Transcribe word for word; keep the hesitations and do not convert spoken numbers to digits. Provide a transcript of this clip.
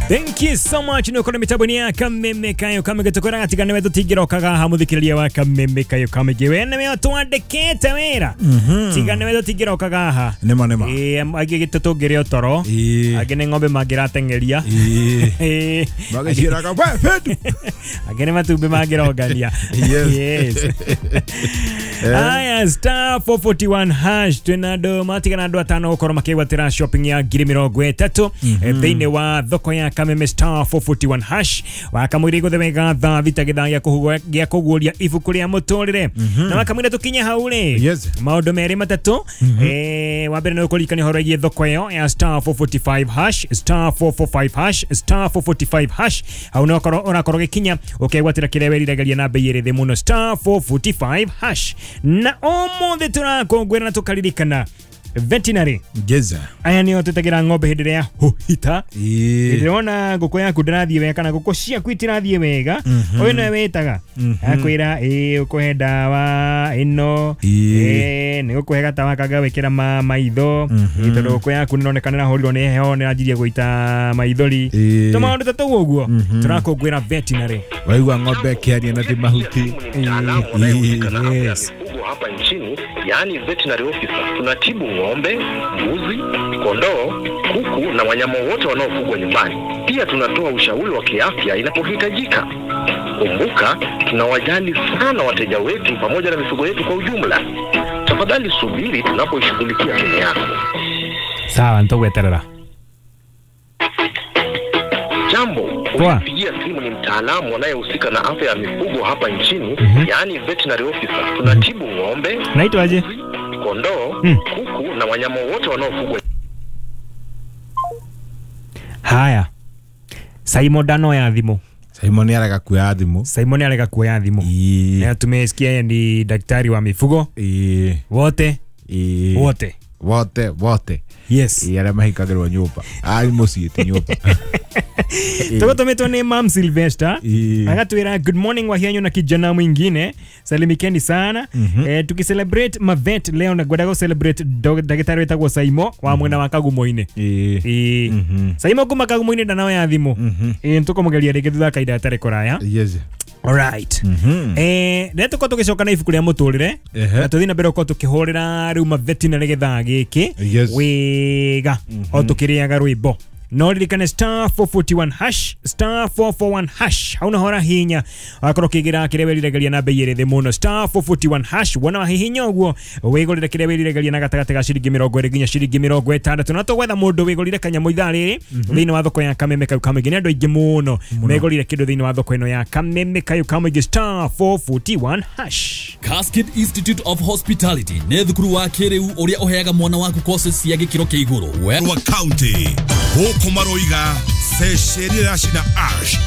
Thank you so much. Nä ũkorwo mĩtambo-inĩ ya Kameme Kayo Kamĩngĩ tũkwĩraga tiga nĩwe tũtingĩrokaga haha mũthikĩrĩria wa Kameme Kayo Kamĩngĩ we nĩwe twandĩkĩte wĩra tiga nĩwe tũtingĩrokaga haha. Nĩma nĩma. Ĩĩ, angĩ gĩtũ tũngĩrĩa toro, Ĩĩ. angĩ nĩ ng'ombe mangĩrateng'eria. Ĩĩ. Ĩĩ. Magĩciĩraga we Fedu. Angĩ nĩ matumbĩ mangĩrongania. Yes. Yes. Aya, star four forty-one hash twĩna andũ matigana andũ atano gũkorwo makĩgwatĩra shopping ya ngiri mĩrongo ĩtatũ thĩinĩ wa thoko ya Kameme star four forty-one hash wakamwĩra igũthe wega thaa thita gĩthaa gĩa kũhugwo- gĩa kũguũria ibuku rĩa mũtũrĩre na wakamwĩra tũkinye hau rĩ Yes. maũndũ merĩ matatũ. Eh, wa mbere nĩ ũkũririkania ũhoro wĩgiĩ thoko ĩyo ya star four forty-five hash star four forty-five hash star four forty-five hash hau nĩ ũkorwo ũrakorwo ũgĩkinya ũkegwatĩra kĩrĩa weriragĩria na bei ĩrĩ thĩ mũno star four forty-five hash. Na ũmũthĩ tũrakũngũĩra na tũkaririkana veterinary. Yes. Aya nĩo twĩtagĩra ng'ombe hĩndĩ ĩrĩa yahuhita. Ĩĩ. Hĩndĩ ĩrĩa wona ngũkũ yaku ndĩrathiĩ wega kana ngũkũ ciaku itirathiĩ wega, ũyũ nĩwe wĩtaga akwĩra ĩĩ ũkũhe ndawa ĩno, Ĩĩ. ĩĩ nĩ gũkũhe gatawa kanga wĩkĩra ma maitho, ĩĩ tondũ ngũkũ yaku nĩroneka nĩrahũrirwo nĩ heho nĩranjirie gũita maithori. Ĩĩ. Tũmaũndũ ta tũu ũguo tũrakũngũĩra veterinary. Waigua ng'ombe ĩkĩaria na ti mahuti. Mtaalamu anayehusika na afya ya Yes. mifugo hapa nchini, yaani veterinary officer. Tunatibu ng'ombe, mbuzi, kondoo, kuku na wanyama wote wanaofugwa nyumbani. Pia tunatoa ushauri wa kiafya inapohitajika. Kumbuka, tunawajali sana wateja wetu pamoja na mifugo yetu kwa ujumla. Tafadhali subiri tunapoishughulikia simu yako. Sawa, nitagweterera. Jambo, Poa. unapigia simu ni mtaalamu anayehusika na afya ya mifugo hapa nchini, yaani veterinary officer. Tunatibu ng'ombe, Naitwaje? mbuzi, kondoo, Mm. kuku na wanyama wote wanaofugwa. Haya, Simon ndanoya thimũ. Simon nĩarega kuoya thimũ. Simon arega kuoya thimũ. Ĩĩ. Na tumesikia yeye ni daktari wa mifugo. Ĩĩ. Wote. Ĩĩ. Wote. Wote wote. Yes. Ĩĩ, arĩa mahingagĩrwo nyũmba arĩ mũciĩ ti nyũmba. Tugotometwo nĩ Mam Sylvester. Ĩĩ. Agatwĩra good morning Wahianyo na kijana mwingine, salimikeni sana. Eh, tukicelebrate mavet leo na ngwendaga celebrate ndagĩtarĩ wĩtagwo Saimo wa mwena wa Kagumo-inĩ. Ĩĩ. Ĩĩ. Saimo kuma Kagumo-inĩ ndanoya thimũ. Ĩĩ, nĩtũkũmũgeria rĩngĩ thutha wa kahinda gatarĩ kũraya. Yes. Alright. Eh, rĩrĩa tũkorwo tũgĩcoka na ibuku rĩa mũtũrĩre Ehe. na tũthiĩ na mbere gũkorwo tũkĩhũrĩra rĩu mavetinary gĩthaa gĩkĩ Yes. wega o tũkĩrĩaga rwĩmbo. No ririkane star four forty-one hash star four forty-one hash hau naho ũrahihinya wakorwo ũkĩgĩra kĩrĩa wĩriragĩria na bei ĩrĩ thĩ mũno star four forty-one hash wona wahihinya ũguo wĩgũrĩre kĩrĩa wĩriragĩria na gatagatĩ ga ciringi mĩrongo ĩrĩ nginya ciringi mĩrongo ĩtandatũ. Na tũgwetha mũndũ wĩgũrire kanyamũ ithaa rĩrĩ thĩinĩ wa thoko ya Kameme Kayo Kamũingĩ. Nĩ andũ aingĩ mũno megũrire kĩndũ thĩinĩ wa thoko ĩno ya Kameme Kayo Kamũingĩ star four forty-one hash. Cascade Institute of Hospitality nĩ thukuru wa kĩrĩu ũrĩa ũheaga mwana waku courses cia gĩkĩro kĩa igũrũ. Wa county gũkũ maroiga ceceni ya cina ash.